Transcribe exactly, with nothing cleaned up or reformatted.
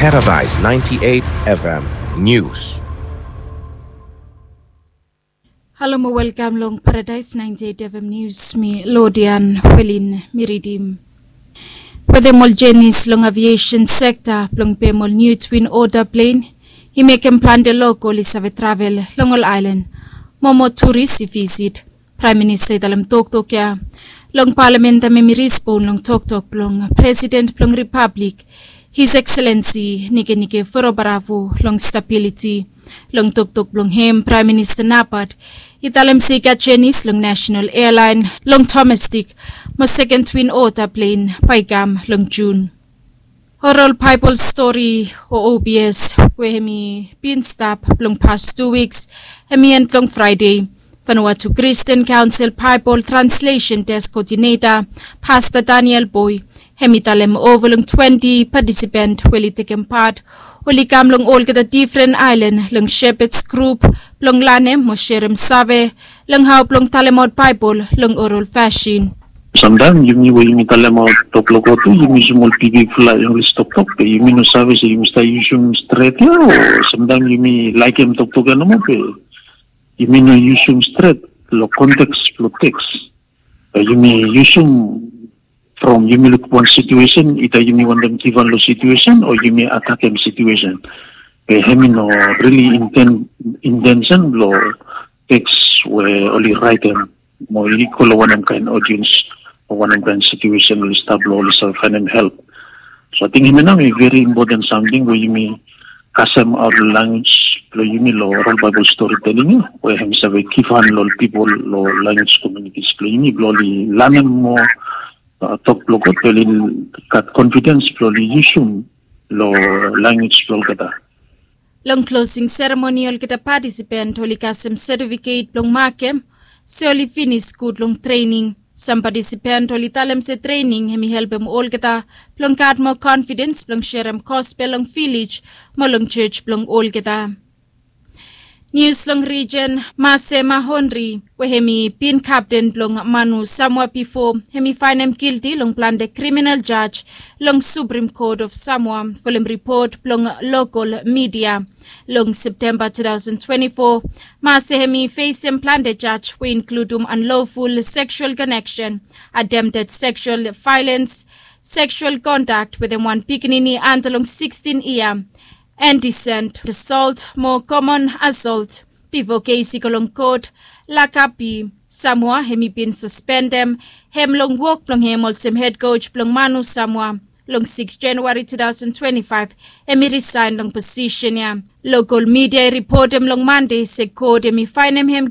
Paradise ninety-eight F M News. Halo mo welkam long Paradise ninety-eight F M News, mi Lodian Welin mi ridim. Wetem ol jenis long aviation sekta blong pem ol niu Twin Otter plen i mekem plante lokol i save travel long ol aelan mo moa turis i visit. Praem Minista i talem toktok ya long palamen taem hem i rispon long toktok blong Presiden blong Ripablik, His Excellency Nikenike Vurobaravu long stabiliti. Long toktok blong hem, Praem Minista Napat i talem se i gat jenis long nasenal ealaen long domestik mo seken Twin Otter plen bae i kam long Jun. Oral Baebol stori o O B S we hem i bin stap blong pas tu wiks hem i en long Fraede. Vanuatu Kristian Kaonsel Baebol Translesen Desk Koodineta, Pasta Daniel Boy, hem i talem ova long twenti patisipan we oli tekem pat oli kam long olgeta difren aelan long Shepherds Group blong lanem mo serem save long hao blong talemaot Baebol long oral fasin. Samtaem yumi we yumi talemaot tok blong God tu yumi yusum ol bigfala Inglis toktok be yumi no save se yumi stap yusum stret ya o samtaem yumi laekem toktok ya nomo be yumi no yusum stret long konteks blong teks. Be yumi yusum from yumi luk wan situesen, ida yumi wantem givhan long situesen o yumi atakem situesen. Be hem i no rili inten intensen blong teks we oli raetem mo i go long wanem kaen odiens o wanem kaen situesen oli stap long oli save faenem help. So ating hemia nao i veri impoten samting we yumi kasem aot long language blong yumi long oral Baebol stori teling ya we hem i save givhan long ol pipol long language komunitis blong yumi blong oli lanem moa tok blong God blong oli gat konfidens blong oli yusum long language blong olgeta. Long klosing seremoni olgeta patisipan oli kasem setifiket blong makem se oli finis gud long trening. Sam patisipan oli talem se trening hem i helpem olgeta blong gat moa konfidens blong serem gospel long vilej mo long jos blong olgeta. Nius long rijen, Mase Mahonri we hem i bin kapten blong Manu Samoa bifo hem i faenem gilti long plante kriminal jaj long Supreme Court of Samoa folem ripot blong lokol midia. Long Septemba tu taosen twenti fo, Mase hem i fesem plante jaj we i inkludum anloful seksual koneksen, atemted seksual vaelens, seksual kontak wetem wan pikinini anda long sikstin yia, endisen asolt mo komon asolt. Bifo kes i go long kot, Lakabi Samoa hem i bin saspendem hem long wok blong hem olsem hed koj blong Manu Samoa. Long sikis Januari tu taosen twenti faef hem i risaen long posisen ya. Lokol midia i ripotem long Mande se kot hem i faenem hem